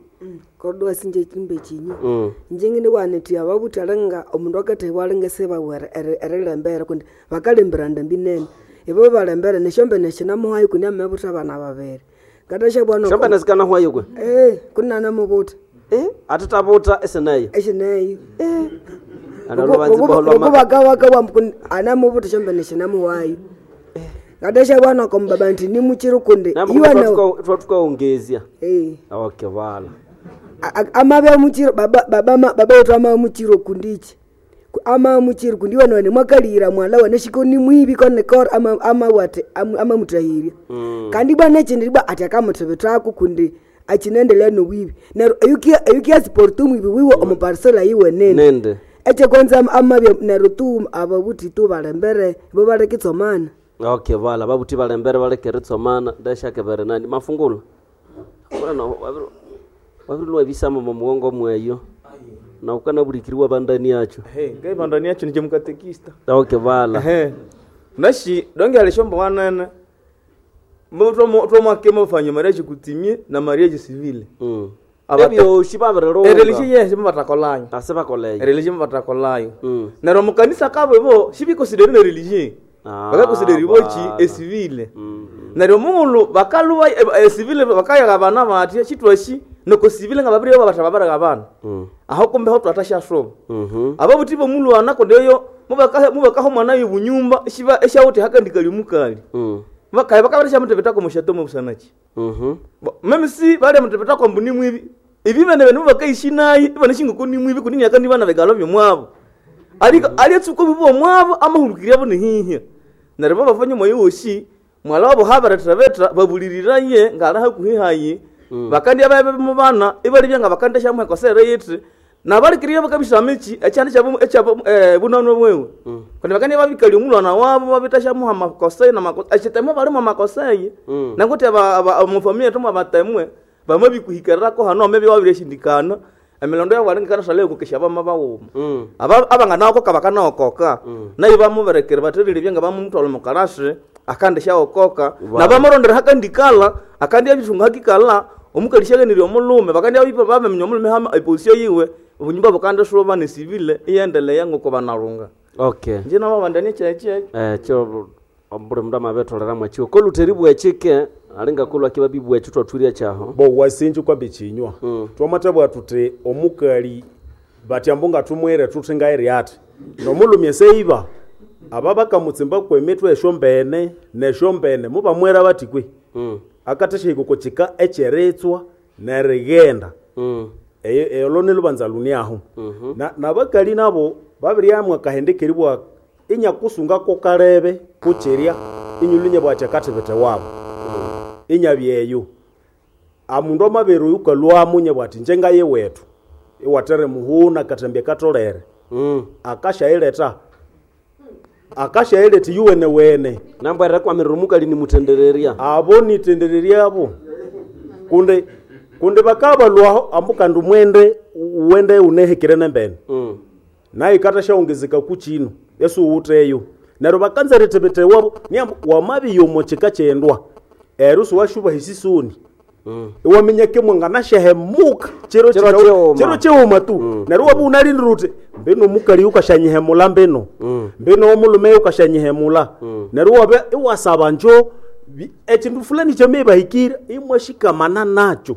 kodwa sinje chimbe chinyu Mm. njengene waneti ababuthi alinga omundu akathebwa alinga sebawere erilembere kundi bakalembera ndambi nene ibo balembere neshombene shinamuhayo kundi amebutha abana babiri ngatasha bwana shombene zikanahwayo kwe eh kunanamubuta eh atitabuta esineyo eshineyo eh Ana lubanzi boholwa ma- ngokubakawakawambu anamubuta shombene shinamuhayo ngatasha bwana kombaba nti nimuchiri kundi iwana twatukaongezya eh okay vala amabe muchiro baba baba ma- baba wetu ama muchiro kundichi Ku- ama muchiro kundi wana mwakalira mwala wana shiko ni mwibi kone kor ama ama wate ama, ama mutahirya Mm. kandi bwana chindi bwa ati akamuthebethako kundi achinendelea nobwibi neryo eyukia eyukia sport mwibi wiwe omuparsela yiwe nene nende eche kwanza am- amabya neryo tu ababuthi tu balembere bo balekitsomana okay vala babuthi balembere balekeritsomana ndashakebere nani mafungula bwana wabirilwa bisama mumugongo mweyo na ukanabulikiriwa bandani yacho Hey, ngai bandani yacho nije mukatekista okay vala Ehe. Nashi donge alishomba wanene twomwakema bafanya mariage kutimie na mariage civile Mm. Abata- ebyoshi babirilunga ereligion yes mubatakolayo ase bakoleyo ereligion mubatakolayo Mm. neryo mukanisa kabo ibo shibikonsideri ne religion Ah, bakakonsideri bochi bala. esivile neryo mungulu bakaluwa esivile bakayaga abana batya chitwashi noko sivile nga babiri batha babaraga abana Mm. aho kumbe ho twatashashoba Mhm. ababuthi bomulwana kondeyo mubakaho mubakaho mwana yobunyumba eshiba eshawuthi hakandikali mukali Mm. Bakaye bakabarisha mutebetako mushato mubusanachi. Mhm. Meme si bali mutebetako mbuni mwibi. Ibi bene bene bakaishi nayi ibanishinga ko ni mwibi kunini akandi bana begalo byomwabo. Ali ali tsuko bibo mwabo amahurukirya bo nihihya. Neryo bafanye moyo woshi mwala wabo habaretebeta babuliriraye ngala hakuhihayi. Mm. Bakandi ababe mu bana ibali byanga bakandesha mu ekosere yithi nabalikirira bakabisa michi ekyandi kyabo ekyabo eh, bunano bwewe. Mm. Kandi bakandi babikali omulwana wabo babitasha mu amakoseye na makosa ekitemo bali mu makoseye. Mm. Nanguti aba mu familia tomu abatemwe bamabikuhikererako hano amebe wabireshindikana emilondo yabo alingikana sale kukesha bama bawuma. Mm. Aba abanganaokoka bakanaokoka. Mm. Nayo bamuberekere baterire byanga bamumutwala mu karashe akandesha okoka nabamurondera hakandikala akandi abisunga hakikala omukalishagenire omulume bakandi abipa bamenya omulume hama eposition yiwe obunyumba bukande shoba ne civil iyendelea ngoko banarunga. Okay. Nje nabo bandani cheche eh cho obure mundu amabetolera mwachiko koluteri bwechike alinga kulwa kiba bibwechu twathuria chaho bo wasinji kwa bichinywa. Mm. Twamatabwa tuti omukali batyambunga tumwere tuthinga eri ati nomulumye seiba aba bakamutsimba kwemitwe eshombene neshombene mubamwera bati kwe. Mm. Akatesha ikukochika echeretswa nerigenda. Mm. Eyo ne lubanza luniaho. Mm -hmm. Na nabakali nabo babiri kahendekeribwa inyakusunga ko kalebe kucheria inyulunye bwacha katebete wabo. Mm. Inyabyeyo amundu amabere yukalwa munye bwati njenga ye wetu iwatere muhuna katembye katolere. Mm. Akashaileta akashaileta yuwene wene nambwera kwa mirumuka lini mutendereria abo nitendereria abo kunde kunde bakabalwaho ambuka mwende uwende unehekere nembene. Mm. Naye katashaongezeka kuchino yesu uteyo nero bakanza retebete wabo ni wamabi yomocheka chendwa erusu washuba hisisuni. Mm. Iwamenya kemwe nganashehemuka chero chero chero cheuma tu. Mm. Nero wabu unalindrute mbeno mukali ukashanyihemula mbeno. Mm. Mbeno omulume ukashanyihemula. Mm. Nero wabe iwasaba njo ekintu fulani chamebahikira imwashikamana nacho.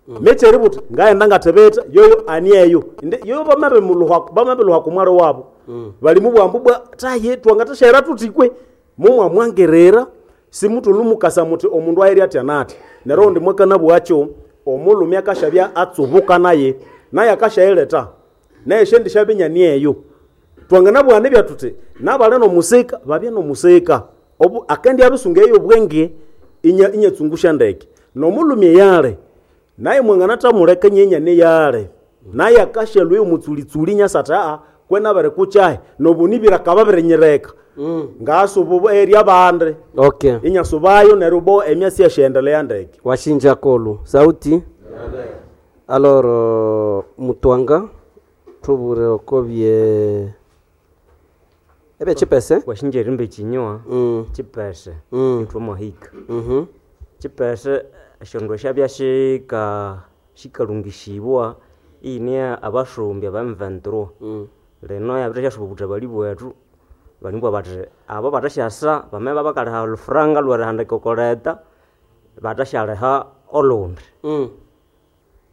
Mm. Mechere buti ngaenda ngatebeta yoyo anieyo yoyo bamabe muluha bamabe luha kumwaro wabo. Mm. Bali mubwambu bwa taye twangatashera tutikwe mumwa mwangerera simutulumukasa muti omundu airi ati anati nero ndi mwakana bwacho omulumi akashabya atsubuka naye naye akashaeleta naye shendi shabinya nieyo twangana bwane byatute nabale no musika babye no musika obu akendi abisunga eyo bwenge inya inyetsungusha ndeke nomulumi yale naye mwangana tamuleka nyenya ne yale naye akashelwe omutsulitsuli nyasata kwena bare kuchahe nobunibira kababirenyereka. Mm. Ngasubu eri abande. Okay. Inyasubayo nerubo emyasi yashendelea ndeke washinja kolu sauti. Alors mutwanga tubure okobye ebe chipese washinja rimbe chinywa. Mm. Chipese. Mm. Itwo mohika. Mhm. Chipese shondo shabya shika shikalungishibwa ine abashumbi aba M vingt-trois. Mm. Leno yabire shasubuta bali bwetu balimbwa bati abo batashasa bameba bakaleha olufuranga lwerihandika okoleta batashaleha olundi. Mm.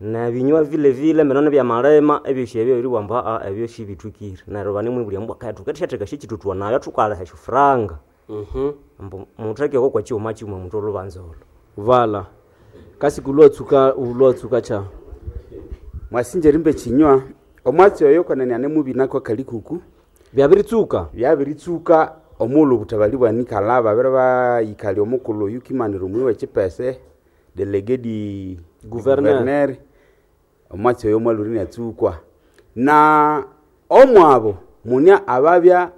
Na binywa vile vile mbeno byamalema ebyosi ebyo biriwamba a ebyo shibitukire neryo banimwibulya mbwa kaitu keteshateka shikitutwa nayo tukaleha shufuranga. Mhm. Mbu mutheke ko kwa chiuma chiuma muthu olubanza olo vala kasi kulwatsuka ulwatsuka cha mwasinje rimbe chinywa omwatsi oyo konene ane mubina kwa kalikuku byabiritsuka byabiritsuka omulu butabali bwanikala babere bayikali omukulu yukimanira omwi wechipese delege di gouverneur omwatsi oyo mwaluri natsukwa na omwabo munya ababya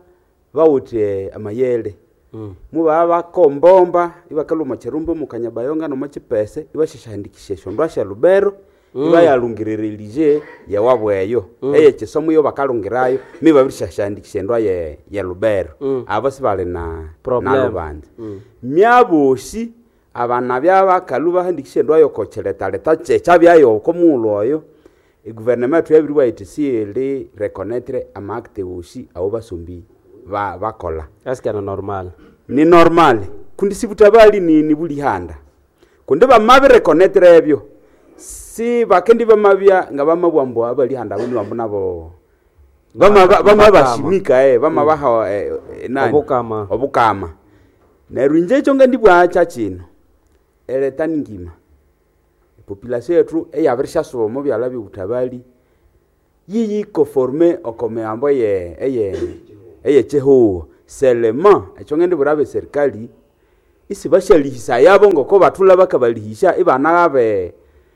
bawuthe amayele. Mm. Muba bakombomba ibakaluma cherumbe mukanyabayonga no machipese ibashashandikishe shondwa sha Lubero. Mm. Ibayalungiririye yawabweyo. Mm. Eye chisomo yo bakalungirayo miba bishashandikishe ndwa ye ya Lubero. Mm. Abo sibale na na lubanza. Mm. Myaboshi abana byabakalu bahandikishe ndwa yo kocheleta leta checha byayo komulo oyo gouvernement yabirwa itisiele reconnaître amakte woshi abo basombi ba bakola. Eske na normal ni normal kundi sibutabali ni ni bulihanda kundi bamabe reconnaître ebyo si bakendi bamabya nga bamabwambo abalihanda buni bambu nabo bama bama bashimika eh bama baha eh, nani obukama obukama Neryo inje ekyo ngandibwacha kino eleta ni ngima population yetu eyabirishyasuba omo byalha by'obutabali yiyikonforme oko mihambo eye eye eyekihugho selema ekyo ngendibwira abeserikali isibasyalihisa yabo ngoko bathulha bakabalihisya ibanaghabe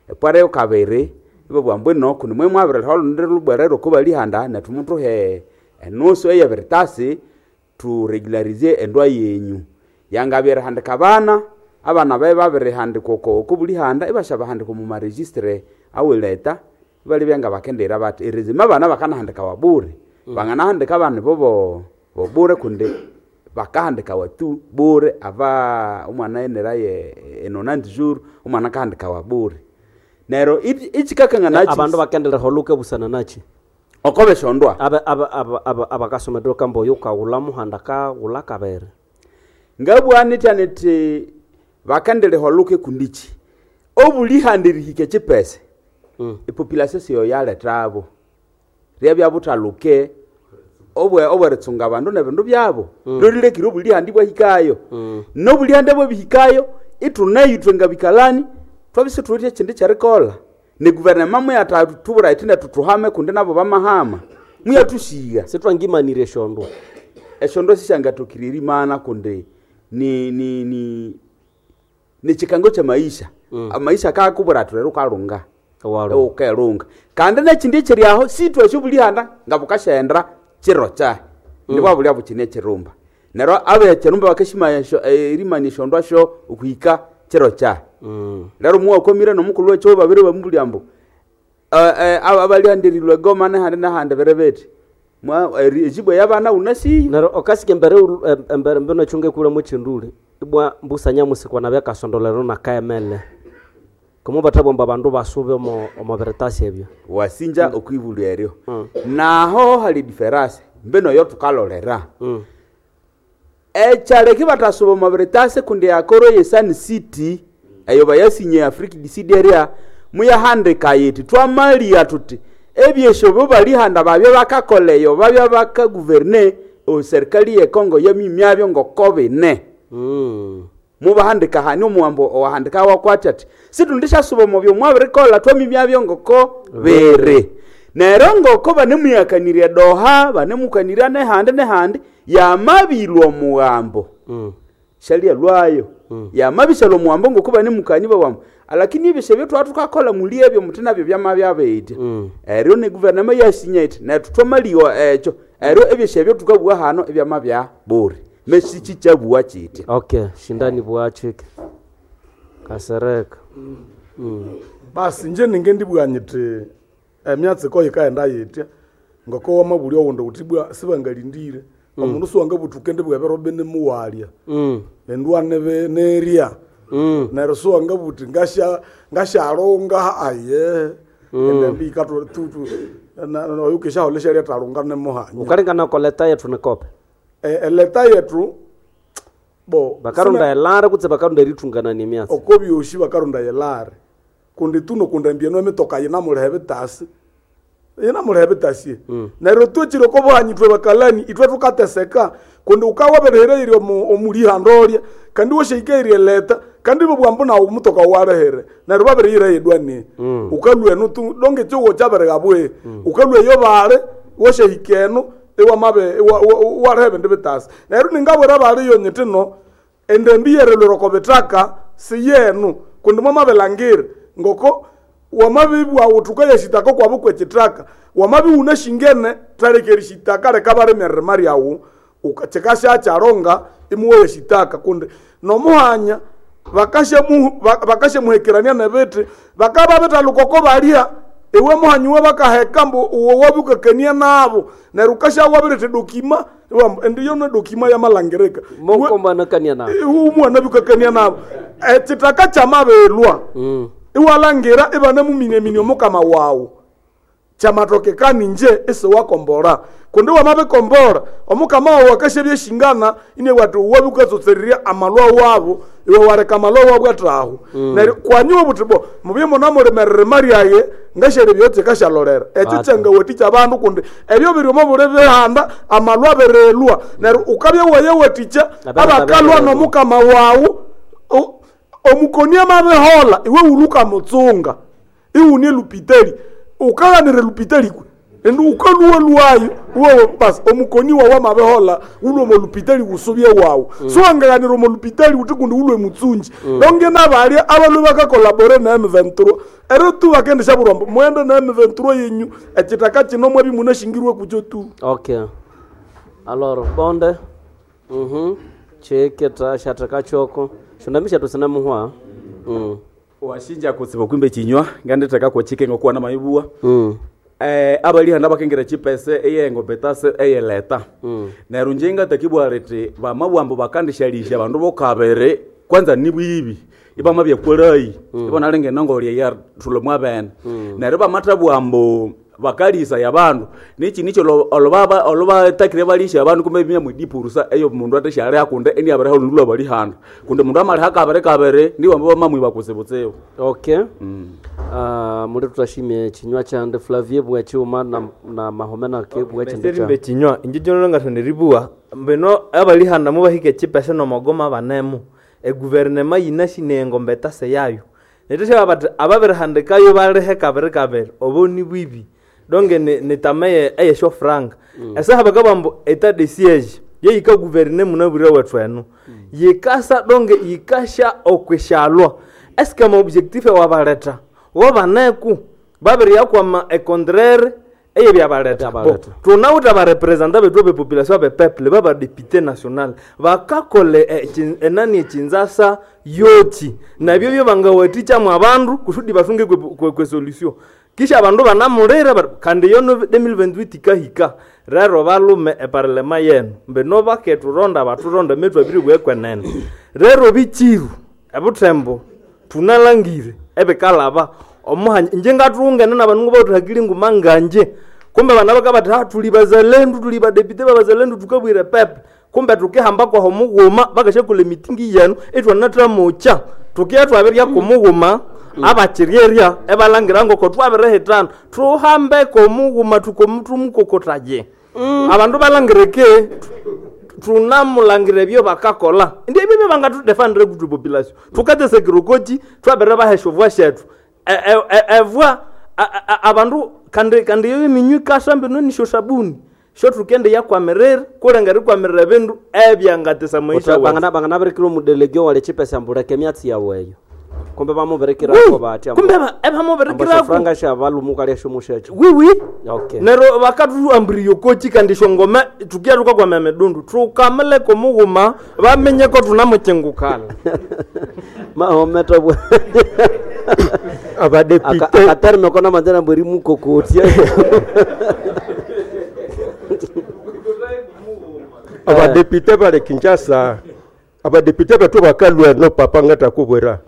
epwara yokabiri ibabugha mbwino kundi mwe mwabiriha olundi lubwerere oko balihanda nethu muthuhe enusu eyebiritasi turegularize endwa yenyu yangabya erihandika abana abana babe babirihandikwa oko oko bulihanda ibasyabahandika omu maregistre awileta ibalibya nga bakendira bathi erizima abana bakanahandikawa bure mm. banganahandika abana bobo bobure kundi bakahandikawa tu bure ava omwana eneraye enonante jour omwana akahandikawa bure neryo ichikakangana abandu bakendera holuke busana nachi oko beshondwa abakasomedwa kambo yukaghula muhanda kaghula kabere ngabwanitya niti bakendere holuke kundichi obulihanda erihika echipese mm. epopulation siyo yaletabo ryabya buthaluke obwe obweritsunga abandu nebindu byabo mm. lolilekire obulihanda bwahikayo mm. nobulihanda bwabihikayo ithuneyo ithwe ngabikalani twabise thuwithe ekindi kyerikolha ne guvernema muyathathubura ithine thuthuhame kundi nabo bamahama muyathusigha sithwangimanire esyondo esyondo sisyangathokire erimana kundi ni ni ni nichikango cha maisha mm. maisha kakubura athi rero ukalunga ukelunga kandi nekindi ekiri aho sithwe esyobulihanda nga bukasyaghenda kiro kyahi mm. ndibwabulya bukine ekirumba neryo abekirumba bakashimaya erimania esyondu syo okuhika kiro kyahi mm. lero muwakomire nomukulhu wekyo babiri bamubulya ambu abalihandirilwe egoma nehandi nehandi biri bithi ejibu eyabana unasiyo neryo okasika embere embere mbino ekyunga ekulhamu ekyinduli ibwa mbusanya musikwana byakasondolero nakaemele komo bathabomba abandu basube omo omo biritasi ebyo wasinja mm. okwibulya eryo mm. naho hali diferase mbino yo tukalolera mm. ekyaleki batasuba omo biritasi kundi akoro ye Sun City eyo bayasinye Africa D C area muyahandika yiti twamalia tuti ebyesyo bo balihanda babyo bakakoleyo babya bakaguverne o serikali ye Kongo yamimyabyo ngoko bine mm. mubahandika hani omuwambo owahandika wakwati ati situndishasuba omubyo mwabirikola twamimyabyo ngoko biri neryo ngoko banemuyakanirya doha banemukanirya nehandi nehandi yamabilwa omuwambo mm. shalya lwayo mm. yamabishalwa omuwambo ngoko banemukani bawambo lakini ebyo ebyo twathukakola muli ebyo muthi nabyo byamabyabetya mm. eryo ne guvernema yasinya iti nethu twamaliwa ekyo eryo ebyesyo ebyo thukabugha hano ebyamabya buri mesichichabuwa chiti okay shindani bwachike kasereka mm. mm. Basi nje ninge ndibugha nyiti emyatsiko yikaghenda yitya ngoko wamabulya owundi wuthi bwa sibangalindire mm. omundu siwangabuthuka ndibugha ebiro bine muwalya mm. endwa nebe nerya mm. neryo siwangabuthi ngasya ngashalunga aye mm. endembi ikathutu oyukishaholha syalyathalunga nemuhanya ukalingana koleta yethu nikope eleta yetu bo bakarunda elare kutse bakarunda erithunganania emyatsi oko byosi bakarunda elare kundi tuno kundambia emitoka yinamuliha ebitasi yinamuliha ebitasi mm. neryo twekire oko buhanyi ithwe bakalani ithwe thukateseka kundi ukawabirihireire omulihanda olya kandi washahikairye eleta kandi bobwambu nawu omutoka walehere neryo babiriyira yedwani mm. ukalwa enu donge ekihugho kyabirighabwe mm. ukalwa eyo bali washahika enu iwamabe walehe ebindu bitasi neryo ningabwira baliyo nyiti no endembi yerelwera oko bitaka siyenu kundi mwamabilangire ngoko wamabibwa uthuka yeshitaka kwabu kwekitaka wamabiwuna shingene thaleka erishitaka leka balima eririma lyawu kikasyakyalonga imuwa yeshitaka kundi nomuhanya bakasyamuhekerania nebithi bakaba bithaluka oko balya iwe muhanyi we bakaheka mbu uwe wabukakania nabo neryo ukasyawabiretha dokima indi yono dokima yamalangirika mukombanakania nabo iwe omwana bukakania nabo ekitaka kyamabelwa mm. iwalangira ibanemuminyaminya omukama wawu kyamatokekani nje isiwakombora kundi wamabikombora omukama wawu akasyabya eshingana inewa ati wabukatsosererya amalwa wabo iwe wareka amalwa wabo athaho mm. neryo kwanyiwe buthi bo mubye munamulimererima lyaye Ngashere kikashalolera ekyo Ata. kyangawathikya abandu kundi ebyo biri omo buli bihanda amalwa abirilwa neryo ukabya wayawathikya Abana abakalwa babirelwa. nomukama wawu o- omukoni amabihola iwe wuluka mutsunga iwune lupitali ukaghanira lupitali kwe indi ukaluwa lwayo uwe basi omukoni wawu amabihola wulwe omo lupitali wusubye wawu Mm. siwangaghanira omo lupitali wuthi kundi wulwe mutsunji Mm. donge nabalya abalwe bakakolabore na M vingt-trois ero tu bakendisha burombo mwende na M vingt-trois yenyu ekitaka kino mwabi munashingirwe kukyo tu Okay. Alors bonde. Mhm. Cheketa shataka choko. Shondamisha tusina muhwa. Mm. Washinja kutsiba kwimbe chinywa nganditheka kwechike ngokuwa na mayibuwa. Mm. Eh abalihanda bakengera chipese eyengo betase eyeleta. Mm. Neryo nje ngatakibwa riti bamabwambo bakandishalisha bandu bokabere kwanza nibwibi ibamabya kwerayi mm. ibona nongolya ya thulo mwabene mm. neryo bamathabwambo bakalisa ya bandu nichi nicho olobaba olobatakire balisha abandu kumbe bimya mwidipurusa eyo mundu atashali akunde eni abareho lundu lwabalihanda kunde mundu amaliha kabere kabere niwambo bamamwiba kutsibutsibu Okay. Mm. Uh, muri tutashimye chinywa chande Flavie bwachiuma na, na mahomena ke bwachinde cha. Serimbe chinywa inje jono ngathonda eribuwa mbino abalihanda mubahika echipese nomogoma banemu eguverinema yinasi engombe etase yayo neteshaba bati ababirihandikayo balihe kabiri kabiri obo ni bwibi donge ni- nitama eye- eyeshofranga Mm. esaha bakabambu etat de siege yeyika guverne munabwire wethu eno yikasa donge yikasha okweshalwa eske amaobjectif ewabaleta wobaneku babiriyakwama econtraire eyebyabaleta Bo, tunawuta barepresenta bethu bepopulation abepeple babadepute national bakakole eh, enani echinzasa yochi nabyo byo bangawathikyamu abandu kusudi basunge kwe, kwe, kwe solution kisha abandu banamulira bati, kandi yono twenty twenty-eight ikahika rero balume eparlema yenu mbino baketuronda baturonda methu abiri bwekwenene rero bichiru ebuthembo tunalangire ebikalaba omuhanya inje ngathungene nabanungu bauthakili nguma nganje kumbe bana bakabati ha tuli bazalendu tuli badepite babazalendu tukabwire pepe kumbe tukihamba kwaho mughuma bakashakola emitingi yenu itwanathamucha tukiya twabirya kumughuma abakiryerya ebalangira ngoko twabirihitana tuhambeko mughuma tukomutumukokotaye abandu balangireke tunamulangira ebyo bakakola ndi ebyo byangatudefandire kutu population tukatesekirokochi twabere bahesha obwa shethu E- e- e- evwa a- a- a- abandu kandi kandi yo eminywi ikasa mbino nisho sabuni sho tukende yakwamirira kulenga rikwamirira ebindu ebyangatesa maisha Uta- wetu. bangana banganabirikira omudelege wale chipesa ambuleke emyatsi yawe eyo kumbe bamubirikirako batya kumbe ba- ebamubirikirako. franga sha balumuka lyashomushecho wiwi okay nero bakathuambiriyo kochi kandi shongome tukiya tukakwama emidundu tukamileko mughuma bamenyeko tunamuchingukala mahometa bwa Abadepite- akaterme kona manzana mbweri mukokotya abadepite bali kinshasa abadepite betu bakalwa no papa ngatakubwera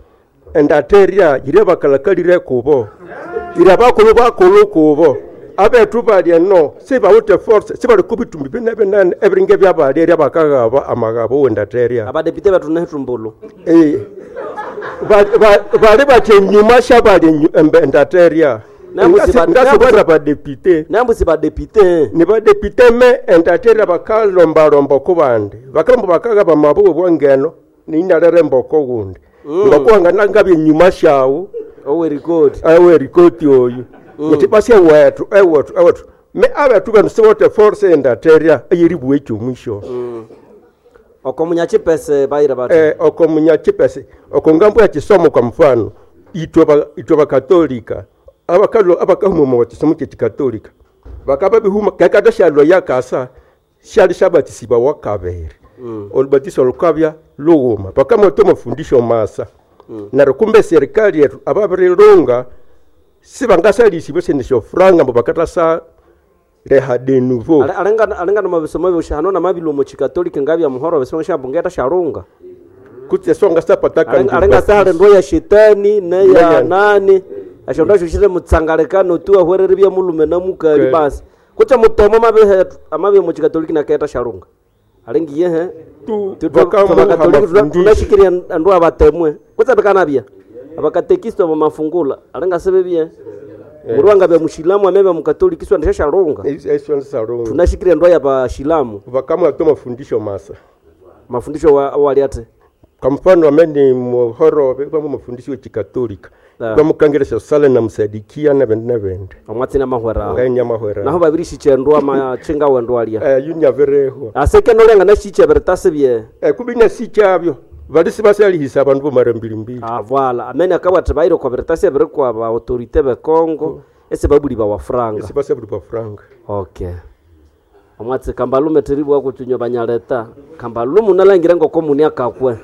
endateria yire bakalakalire kubo ira bakulu bakulu kubo abetu balya no sibawute force sibali kubitumbi bine binene ebiringe byabalya bakagaba amagabo wendateria abadepite betu nehitumbulu Eh, ba- ba- bali batya enyuma shabali enyu- endateria ngasibara badepite nambusi badepite ni badepite me endateria bakalombalomba ku bandi bakalomba bakagaba mabuwe bwangeno ninalere mboko gundi Mm. ngokuwanga nangabye enyuma shawu owerikoti awerikoti oyu Mm. uti basi ewethu ewethu ewethu me abethu benu sibote force endateria eyeribuwa ekyomwisho Mm. oko munyachipese bayira bati eh, oko munyachipese oko ngambo ya chisomo kwa mfano itwe ba- itwe bakatolika abakalo abakahuma mu chisomo kye chikatolika bakaba bihuma kakata shalwa yakasa shali shabatisiba wakabere Mm. olubatiso lukabya lughuma bakamoto mafundisho masa Mm. neryo kumbe serikali yetu ababirilunga sibangasalisibe sene franga mbo bakatasa reha de nouveau Ale- alenga alenga nomabisomo byosha hano namabilo mu chikatolika ngabya muhoro besonga shabungeta sharunga kutse songa sapataka Alenga- alenga sale ndo ya shetani neya Neya. nani ashonda shushire mutsangalekano tu ahwerere bya mulume na mukali Okay. basi kutse mutomo mabihe amabi mu chikatolika naketa sharunga alengi yehe tu bakatolika mafundisho. tunashikiria ndo abatemwe kutse bikanabya abakatekisto bamafungula alenga sebebye Murwanga bya mushilamu amebe mukatoliki swa ndishashalunga. Eswa Tunashikire ndoa ya bashilamu. Vakamwa to mafundisho masa. Mafundisho wa, waliate. Kwa mfano amene muhorove vamwe mafundisho chikatolika. Ah. Vamukangirisha sala na msadikia na vende na vende. Omwatsina mahwera. Nganya mahwera. Naho babiri shichendwa machinga wendwa alia. Eh yunyavereho. Aseke nolenga nashiche beretase bye. Eh kubinya sichabyo. Valisi basalihisa abantu bomara mbili mbili. Ah voilà. Amene akabwatha baire kwa beretase bere kwa ba autorité be Congo. Ese babuli ba wafranga. Ese basabuli ba franga. Okay. Omwatsi kambalume teribwa kuchunywa banyaleta. Kambalume unalangira ngoko muni akakwe.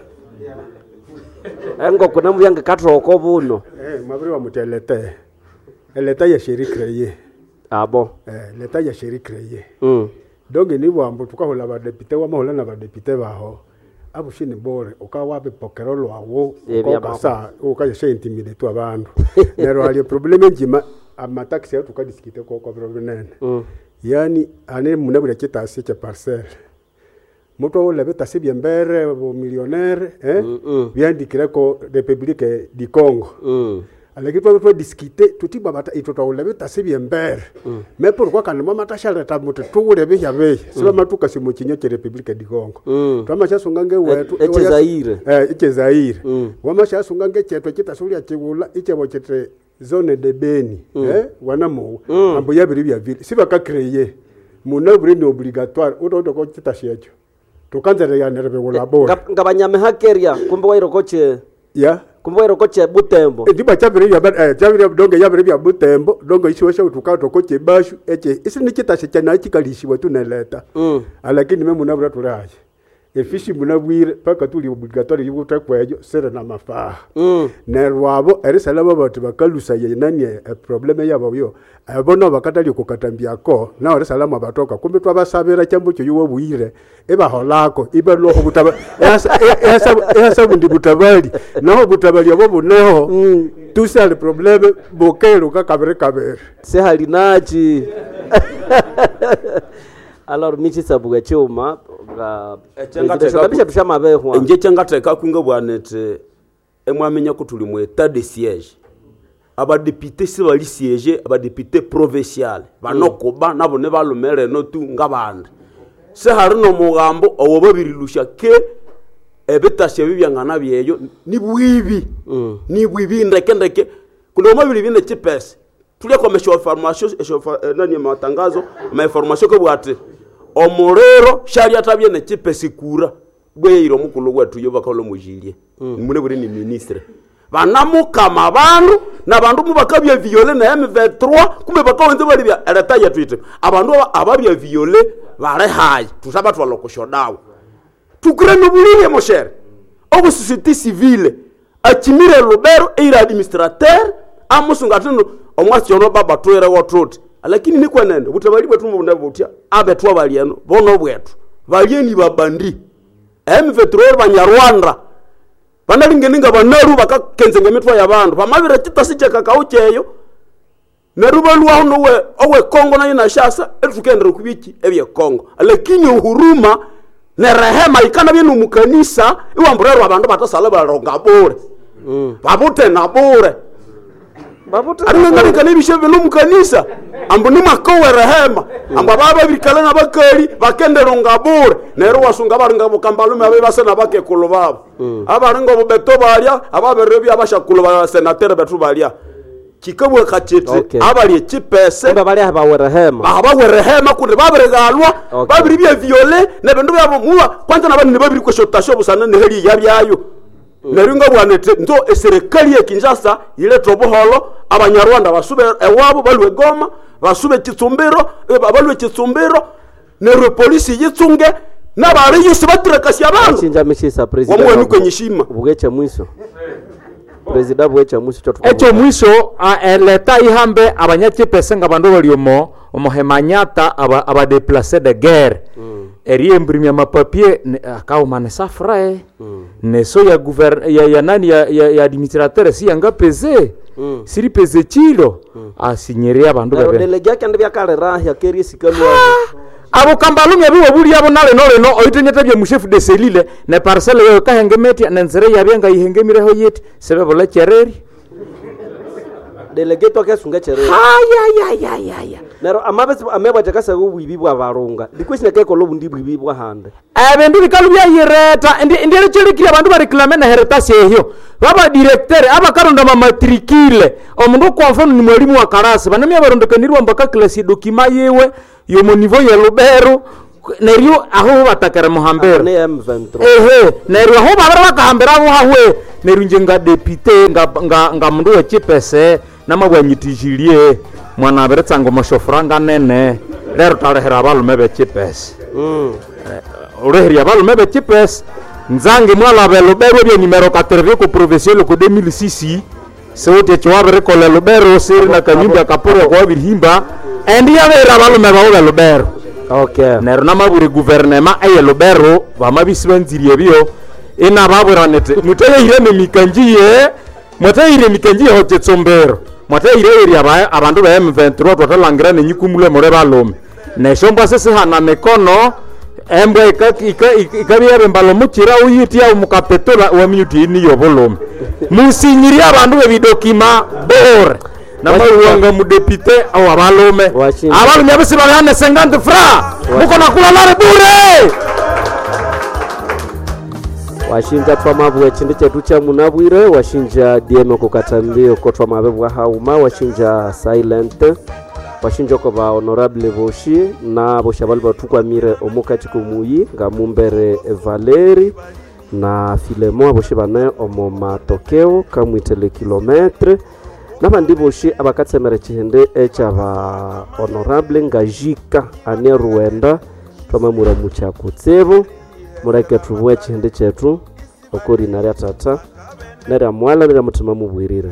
Engoko namubyange kathoko buno. Eh, mwabiri wa muti elete. Eleta ya sheri kreye. Abo. Eh, leta ya sheri kreye. Mm. Donc ni bwambo tukahola badepite wamahola na badepite baho. Abushini bore ukawabipokero lwawo Eh, byabako. ukasa ukayeshe intimidate tu abandu. Nero hali probleme njima amataxi yetu tukadisikite kwa kwa biro binene. Mm. Yani ane munabula kitasi cha parcel. Mutu awole bitasi byembere bo millionaire eh Mm -mm. byandikireko Republique du Congo. Mm. Alaki twa twa diskite tuti babata itwo twawule bitasi byembere. Mm. Me pourquoi kandi mamatashaleta muti tuwule bihya bihi siba matuka simu kinyo kye Republique du Congo. Mm. Twamashasunga ngewetu E- eche Zaire. Eh eche Zaire. Mm. Wamashasunga ngechetwe kitasulia chiwula ichebo chete zone de Beni Mm. eh wanamu Mm. ambo yabiri bya vile siba ka créer muna buri ni obligatoire utoto ko kitashecho tukanzere ya nerebe wula bora Nga banyamehakeria kumbe wairokoche. ya Kumbe wairokoche Butembo. ndiba chabiri bya eh chabiri donge yabiri bya Butembo donge ishiwesha utuka toko chebashu eche isi ni kitashe chana chikalishiwa tuneleta Mm. alakini me munabura tulaje efishi munabwire paka tuli obligatoire yukuta kwejo sere na mafaha Mm. nerwabo erisala babati bakalusa yenani eprobleme yabo yo abo bakatali kukatambiako nao erisala batoka kumbe twabasabira chambo kyo yuwe bwire ebaholako ibaloko butaba ehasa bundi butabali naho butabali abo buneho mm. tusali probleme bukeruka kabere kabere Sehalinachi. Alors michi sabuga chuma nga kabisha tushamabehwa. Nje kyangatheka kunga bwanete emwamenya ko tuli mu état de siège abadepite sibali siège abadepite provincial banokuba nabo ne balumereno tu ngabandi sehari nomugambo owo babirilusha ke ebitasya ebi byangana byeyo nibwibi nibwibi ndeke ndeke kundi omabiri bine chipesa tulya kwa information esho nani matangazo ma information ko bwate omurero shali atabye ne chipesa kura bweyiro omukulu wetu yo bakalo mujilie mm. mune buri ni ministre banamukama bandu na bandu mubakabya viole na M vingt-trois kumbe bakawenze bali bya ereta yetu ite abandu aba- ababya viole bare hayi tusaba twalokoshodawo tukure nobulile moshere obu société civile achimire lubero eira administrateur amusunga atino omwasi ono baba twere wotuti lakini nikwenende butabali bwetu mubunda butya abetwa balieno bono bwetu balieni babandi M vingt-trois banyarwanda banalingeninga banaru bakakenzenga emitwa y'abandu bamabire kitasi kyakakao kyeyo neru balwaho nowe owe Kongo nayo nashasa etukendera kubiki ebye Kongo lakini uhuruma ne rehema ikana byenu mukanisa iwamburerwa abandu batasala balonga bure Mm. babute na bure Babute aringangalikana ebishe bino mukanisa ambu nimakowe rehema ambu ababa babirikala nabakali bakenderonga bure neryo wasunga baringa bukambalume abe basa nabakekulu babo abaringa obubeto balya ababere byabashakulu ba senatere betu balya kikabweka kiti Okay. abali ekipese Kumbe bali abawe rehema. abawe rehema kundi babirigalwa Okay. babiri bya viole nebindu byabo muwa kwanza nabandi babiri kweshotasho busana neheli yabyayo neryo nga bwanete nzo eserikali ya Kinshasa yileta obuholo abanyarwanda basube ewabo balwe Goma basube Kitsumbiro eh, balwe Kitsumbiro neryo polisi yitsunge nabali yose batirekasya abandu Chinja mishisa president. Wamwe nuko nyishima. Bugecha mwiso. President bugecha mwiso cho ekyo mwiso a- eleta ihambe abanyachipese nga bandu bali omo omohemanyata aba abadeplace de guerre eriemburimya mapapie ne- akauma ne safrae neso ya guver ya, ya nani ya, ya, ya administrateur si yangapeze Mm. siripeze chilo asinyeria abandu Nero bebe delege akende byakalera yakerie sikalwa. abo kambalumya biwe buli abo nale noleno oitenyete bya mushefu de selile ne parcelle yoyo kahengemetia nenzere yabye nga ihengemireho yeti sebebola chereri Delegeto akesunga ekyerero. Hayayayayaya. Neryo amabesi amebwa akasaga obwibi bwa barunga. Likwesi nakekola obundi bwibi bwa hande. Ebindu bikalu byayireta ndierikyolekire abandu bareklame neheritasi ehyo babadirektere abakaronda mamatrikile omundu kwa mfano ni mwalimu wa karasi banamya barondekanirwa mpaka klasi dokima yiwe yomo nivo ye Lubero neryo aho batakere muhambira ehe neryo aho babere bakahambira aho hahwe neryo nje nga depute nga, nga, nga mundu wechipese namabwanyitijilie mwana abiritsanga omoshofuranga nene lero talehera abalume bechipese Mm. ureheria abalume bechipese nzange mwalaba elubero ebye nimero katerevye ku provincial ku deux mille six siwuti ekyo wabirikola elubero siri na kanyumba kaporo kwabirihimba endi yabera abalume bawo belubero. Okay. Neryo namabwire guvernema eye Lubero bamabisi banzirie ebyo inababwira niti muteyire nemikanjiye mwateyire emikanjiye ho kitsombero mwateyire eri aba abandu ba M vingt-trois twathalangira nenyikumule mure balume nesyombwa sisihana mikono embwa ikabya yabembala omukira uyitya omukapetula waminyuti ini yobulume musinyirie abandu bebidokima bore namaruwanga mudepite awo abalume abalume abisi babihane cinquante francs muko nakulalare bure. Washinja twamabwa echindi chetu cha munabwire washinja D M kukatambio ko twamabe bwa hauma washinja silent washinja ko ba honorable boshi na boshi abali batukwamire omukati kumuyi nga mumbere Valeri na Filemo aboshi bane omo matokeo kamwitele kilometre nabandi boshi abakatsemera chihende ekyaba honorable nga jika ane ruwenda twamamura muchakutsibu mureke tubue chihende chetu okorina rya tata nerya mwala nerya mutima mubwirire.